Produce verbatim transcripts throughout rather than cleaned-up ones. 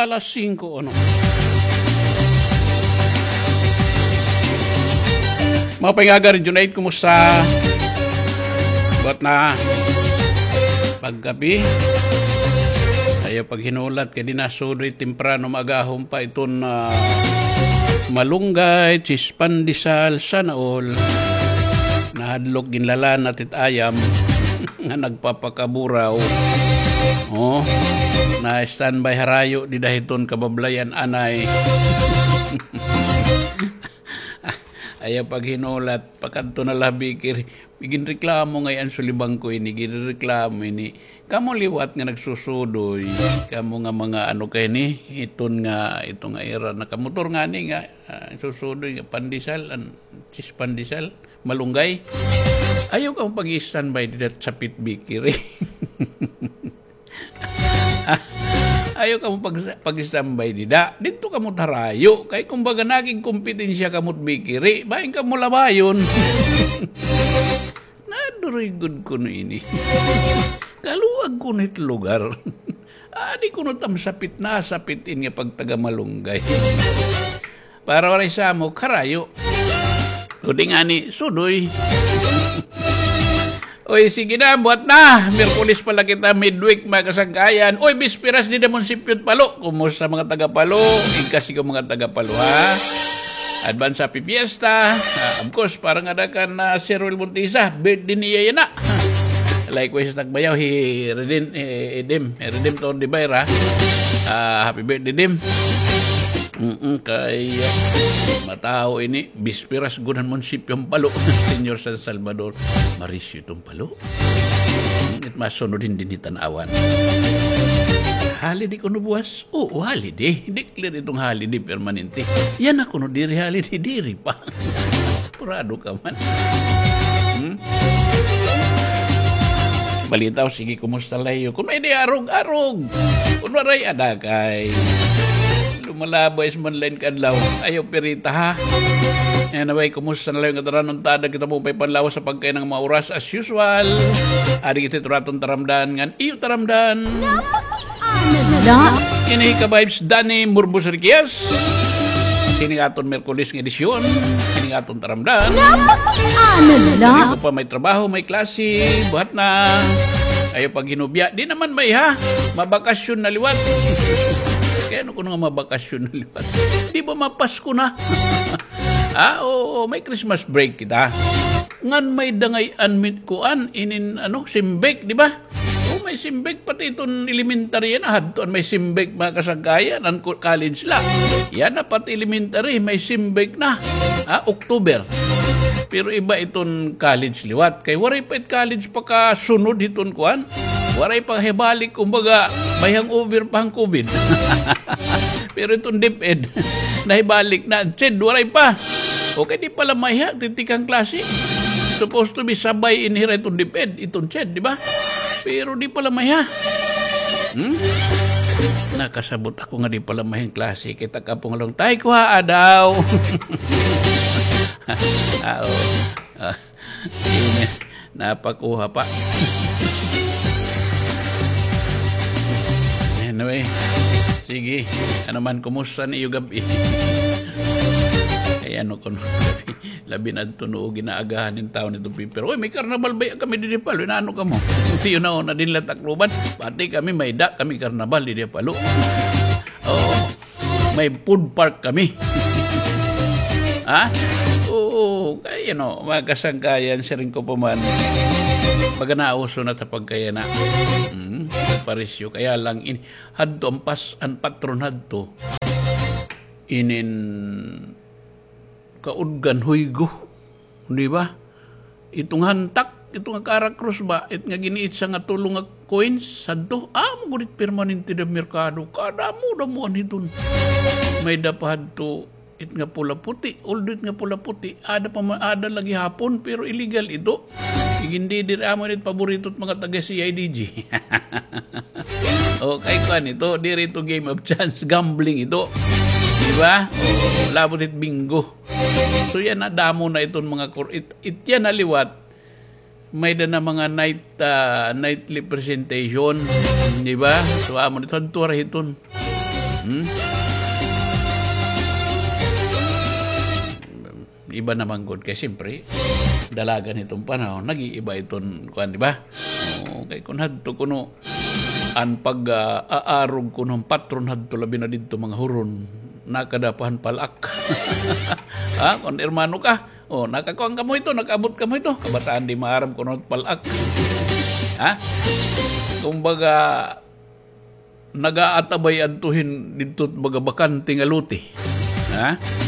alas singko, ano? Mga pangagar, Junait, kumusta? Buhat na pagkape. Ayaw paghinulat kay di na sudoy, temprano maagahon pa iton, ah, malunggay, chispandesal, sana all. Nahadlok, ginlalanat it ayam nga nagpapakaburaw. Oh, na-standby harayo dida hiton kabablayan anay. Ayaw paghinulat, pakadto na la ha bakery. Ginreklamo ngay-an sulibangko ini, ginreklamo ini. Kamo liwat nga nagsusudoy, kamo nga mga ano kay ni, iton nga, ito nga ira, nakamotor ngani nga, ah, susudoy nga pandesal, an, chispandesal, malunggay. Ayaw kamo pag-standby dida ha sapit bakery. Ayaw kamo pag-, pag-standby dida. Didto kamo ha harayo. Kay kumbaga nakigkompetensya kamo ha bakery. Bangin kamo labayon. Nadurigod kuno ini. Kaluag kuno it lugar. Adi kuno tam sapit na sapit in nga pagtaga malunggay. Para waray samok, harayo. O di ngani, sudoy. Oy, sige na, buhat na. Miyerkules pa la kita, midweek, mga kasangkayan. Oy, bisperas dida ha munisipyo hit Palo. Kumusta mga taga Palo? Igkas ko mga taga Palo, ha? Advance happy fiesta. Ah, of course, para ngada kan, ah, Sir Will Montisa, birthday niya yana. Likewise, Tagbayaw, hi Redim, eh, Edim, eh, Redim Tor de Bayra. Ah, happy birthday, Dim. Mm-mm, kay, ah, matawo ini, bisperas gud han munisipyo han Palo, Señor San Salvador. Marisyo iton Palo. Mm, it masunod hin dinhi Tanauan. Holiday kuno buwas? Oo, holiday. Declare iton holiday permanente. Yana kuno diri holiday, diri pa. Purado ka man. Hmm? Balita, o sige, kumusta la iyo? Kun may-ada, arog, arog. Kun waray, adakay. Lumalabay sa man lain kadlaw. Ayaw pirita, ha? Anyway, kumusta na la iyo ngatanan? Unta, ada kita maupay panlawas ha pagkaina nga mga oras as usual. Adi kita ha aton taramdan ngan iyo taramdan. Ano la? Ini hi ka-vibes Danny Murbos Riquias. Sini nga aton Miyerkules nga edisyon. Sini nga aton taramdan. Ano la? Sini ko pa may trabaho, may klase, buhat na. Ayaw paghinubya. Di naman may ha. Mabakasyon na liwat. Kay ano kuno nga mabakasyon na liwat? Di ba mapasko na? Ah, oo, may Christmas break kita. Ngan may-ada ngay-an mit kuan, inin, ano, simbek, di ba? O, may simbek, pati iton elementary yana, hadto an may simbek, mga kasangkayan, an ko-, college la. Yana, pati elementary, may simbek na. Ha, October. Pero iba iton college liwat. Kay waray pa it college pakasunod hiton kuan. Waray pa hibalik, kumbaga, may hangover pa han COVID. Pero iton DepEd, nahibalik na. An CHED, waray pa. Okay, di pala may ha, titikang klase. Supposed to be sabay in hira iton DepEd, iton CHED, di ba? Pero di pala may ha. Hmm? Nakasabot ako nga di pala may ha klase. Kita ka pong along, tay, kuhaa daw. Ah, oo. Ah. Amen. Napakuha pa. Anyway, sige. Ano man, kumusta niyo gabi? Kay ano kuno, labi, labi na ito no, ginaagahan ng tao nito, Piper. Uy, may karnabal ba kami didi Palo? Inaano ka mo? Tiyo na, na din la Tacloban. Pati kami, may-ada kami karnabal didi Palo. Oo. May food park kami. Ha? Oo, kay, you know, mga kasangkayan, siring ko pa man, baga nauso na ta pagkayana. Mm, parisyo. Kaya lang, in, hadto an pas-, an patron hadto. Inin kaudgan, huygo. Di ba? Ito nga hantak, ito nga kara krus ba, it nga giniitsa nga tulo nga coins, sadto, amo gud it permanente da merkado. Kadamo-damoan hiton. May-ada pa hadto, it nga pula-puti, although it nga pula-puti, ada pa ma-, ada la gihapon, pero illegal ito. Igindi diri amo it paborito it mga taga C I D G. O, kay kuan ito, diri ito game of chance, gambling ito. Di ba? O, labot it bingo. So, yana, damo na iton mga kur-, it, it yana liwat. May-ada na mga night, ah, nightly presentation, di ba? So, amo nito, hadto ra hiton. Hmm? Iba naman gud kay siyempre, dalagan hiton panahon, nag-iiba iton kuan, di ba? Oo, kay kun hadto kuno, an pag, ah, aarog kuno han patron hadto labi na didto mga huron, nakada pa han pal-ak. Ha? Kun hermano ka, oh, nakakuan kamo hito, nakaabot kamo hito. Kabataan di maaram kuno pal-ak. Ha? Kumbaga, nagaatabay adto hin didto baga bakante nga lote. Ha?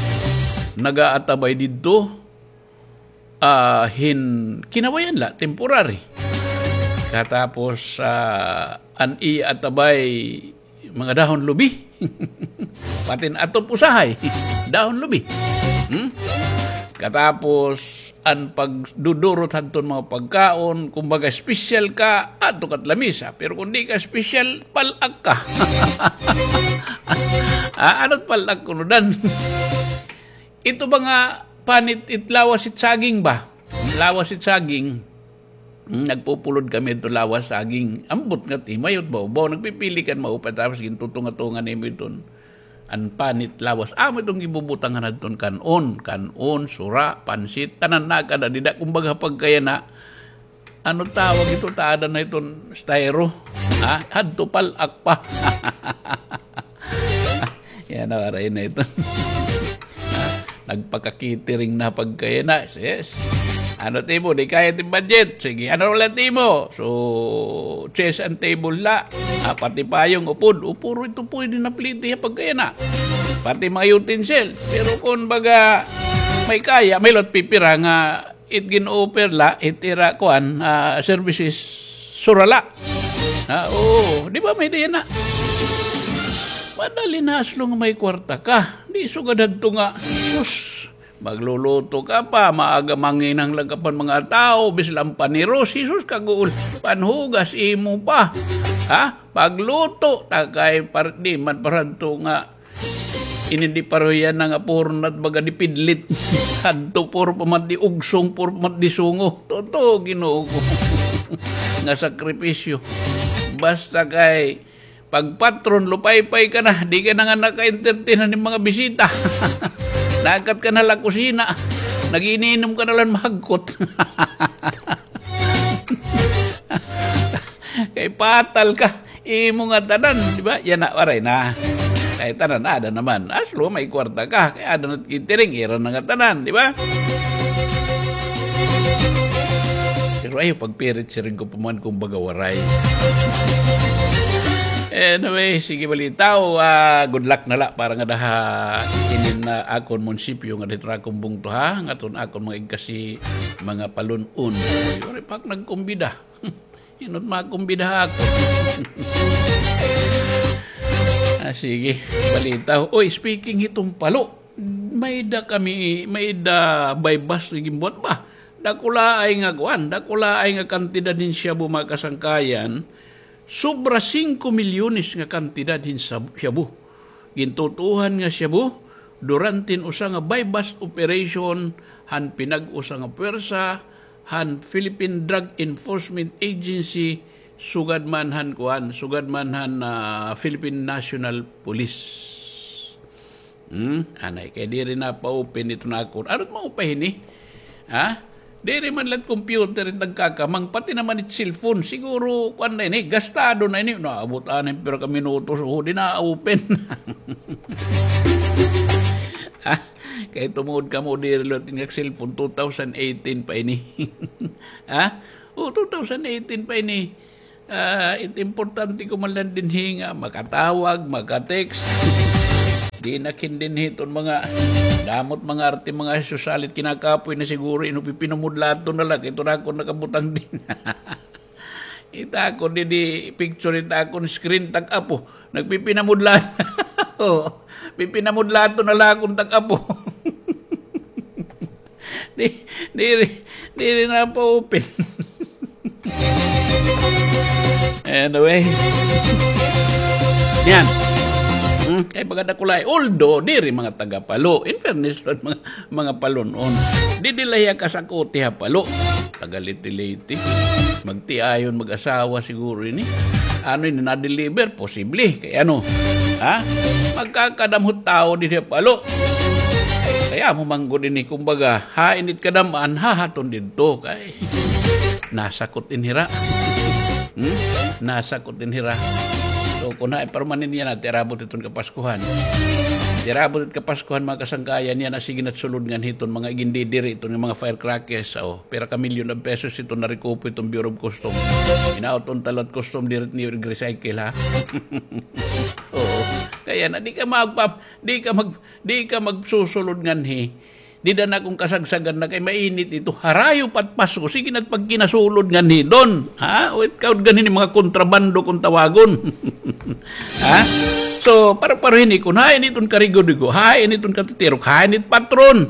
Nagaatabay didto, ah, hin kinawayan la, temporary. Katapos, ah, an iya atabay, mga dahon lubi. Pati an atop usahay, dahon lubi. Hmm? Katapos, an pagdudurot hadton mga pagkaon, kumbaga special ka, adto ka ha lamisa. Pero kun di ka special, pal-ak ka. Ah, ano't pal-ak kuno, Dan? Ito ba nga panit it lawas it saging ba? Lawas it saging. Hmm, nagpupulod kami ito lawas saging. Ambot nga timayot ba? Ba, nagpipili kan maupay tapos gintutunga-tunga nimo iton. An panit lawas. Amo iton gibubutangan hadton kan-on, kan-on, sura, pansit, tanan na kada dida. Kumbaga pagkayana, ano tawag ito, taada na iton styro. Ha? Hadto pal-ak pa. Yana, waray na ito. Nagpaka-catering na pagkayana, sis. Ano timo, di kaya it im budget? Sige, ano la timo? So, chairs and table la. Ah, pati payong, upod. O, puro ito pwede na plete ha pagkayana. Pati mga utensils. Pero kun baga, may kaya, may lot pipira nga it gin-offer la, it ira kuan, ah, services, sura la. Ha, oo, di ba may diyan na? Madali na as long may kwarta ka. Di sugad hadto nga, sus, magluluto ka pa, maaga manginahanglan ka pa han mga tawo, bisan la paniros, sus, kaguol, panhugas, imo pa. Ha? Pagluto, takay, par-, di man para hadto nga, ini di pareho yana nga puro na it baga dipidlit. Hadto puro pa man it di ugsong, puro pa man it di sungo. Totoo, Ginoo ko. Nga sakripisyo. Basta kay pagpatron, lupaypay ka na, di ka na nga naka-entertain han mga bisita. Naakat ka na la kusina. Nag-iinom ka na la mahagkot. Kay patal ka, imo nga tanan, di ba? Yana, waray na. Kay tanan, ada naman. As long may kwarta ka, kay ada na it catering, ira na nga tanan, di ba? Pero ayaw pagpirit, siring ko pa man, kun baga waray. Anyway, sige, balitaw, ah, good luck na la para ngada ha inin nga akon munisipyo nga didto ha akon bungto, ha, ngadton akon mga igkasi mga palun-on. Waray pa ak nagkumbida. Hin-o it makumbida ha akon? Ah, sige, balitaw. Oy, speaking hiton palo, may-ada kami, may-ada buy-bust nga ginbuhat ba? Dakulaay nga kuan, dakulaay nga kantidad hin shabu, mga kasangkayan. Sobra singko milyones nga kantidad hin sab-, shabu. Gintutuohan nga shabu, durante hin usa nga buy-bust operation han pinag-usa nga puwersa han Philippine Drug Enforcement Agency, sugad man han kuan, sugad man han, ah, Philippine National Police. Hmm? Anay, kay diri na pa-open ito na ako. Ano it maupay ini? Ha? Diri man la it computer it nagkakamang, pati naman it cellphone. Siguro, kuan na ini, gastado na ini. Naabot anay pira ka minutos, o, di na-open. Ha? Kay tumuod kamo, diri la it inyong cellphone, two thousand eighteen pa ini. Ha? O, two thousand eighteen pa ini. Ah, it importante ko man la dinhi nga makatawag, maka-text. Di na kin dinhi iton mga, damo it mga arte, mga susalit, kinakapoy na siguro, ino, pipinamudlaton na la, kay ito na ako nakabutang dinhi. Ita ako didi picture, ita akon screen, tak apo. Nagpipinamudla. O, pipinamudlaton na la akon tak apo. Di, diri, diri na pa-open. Anyway. Yan. Hmm, kay baga dakulaay. Although, diri mga taga Palo. In fairness, mga, mga Palon-on. Didi la hiya kasakuti ha Palo. Taga Leyte-Leyte. Magtiayon, mag-asawa siguro ini. Ano ini, na-deliver? Posible. Kay ano? Ha? Magkakadam hit tawo dinhi ha Palo. Kay amo man gud ini, kumbaga, hain it kadam-an, hahaton didto. Kay nasakot in hira. Hmm? Nasakot in hira. So, kun hain pa man ini yana, ti arabot iton Kapaskuhan. Ti arabot it Kapaskuhan, mga kasangkayan, yana sige na it sulod nganhi iton mga igindidiri iton nga mga firecrackers. O, pira ka milyon of pesos iton narekupo iton Bureau of Custom. Hinaot unta liwat Custom diri it ni recycle, ha? Oo. Kay yana, di ka magpa-, di ka mag-, di ka magsusulod nganhi. Dida na akon kasagsagan na kay mainit ito. Harayo pa it Pasko, sige na it pagkinasulod nganhi, Don. Ha? O, ikaw gud nganhi ini mga kontrabando kon tawagon. Ha? So, para-pareho ini kon hain iton karigo-rigo, hain iton katitirok, hain it patron.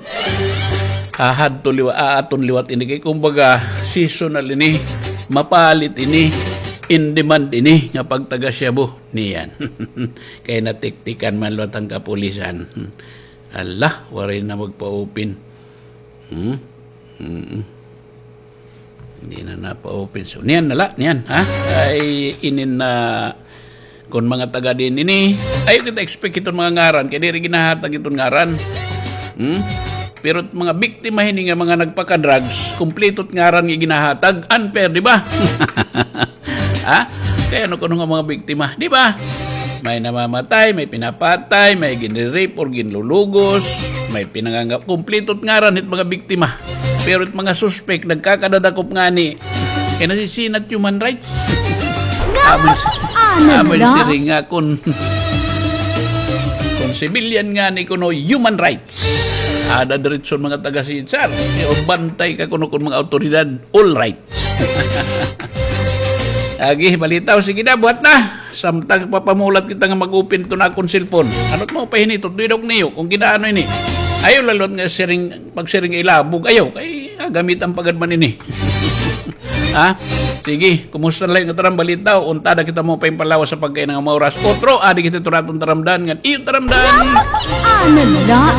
Ahadto liwa-, aaton liwat ini kay kumbaga seasonal ini, mapalit ini, in demand ini nga pagtaga-shabu niyan. Kay natiktikan man liwat an kapulisan. Hala, waray na magpa-open. Hmm? Mm. Hindi na napa-open. So, niyan na la, niyan, ha? Ay, inin na, kon mga taga diin ini, ayaw kita expect iton mga ngaran, kay diri ginahatag iton ngaran. Hmm? Pero mga biktima hini nga mga nagpaka-drugs, kumpleto it ngaran nga ginahatag, unfair, di ba? Ha? Kay ano kuno nga mga biktima, di ba? May namamatay, may pinapatay, may ginre-rape or ginlulugos, may pinangangap. Kumpleto it ngaran hit mga biktima. Pero it mga suspek, nagkakadadakop ngani. Kay nasisina it human rights. Amo si-, amo ni siring nga kon, kon civilian ngani kuno human rights. Ada diretso mga taga-C H R. Kay bantay ka kuno kon mga awtoridad, all right. Agi, balita, o sige na, buhat na. Samtang papamulat kita nga mag-open iton akon cellphone. Ano it mao pa hini, tutuy daw niyo kon ginaano ini. Ayaw la liwat nga siring, pagsiring ilabog. Ayaw, kay gagamitan pa gad man ini. Ha? Sige, kumusta la nga taram balita? Unta ada kita mao pa hin palawas ha pagkaina nga mga oras. Otro, adi kita hito aton taramdan ngan iyo taramdan. Ano la?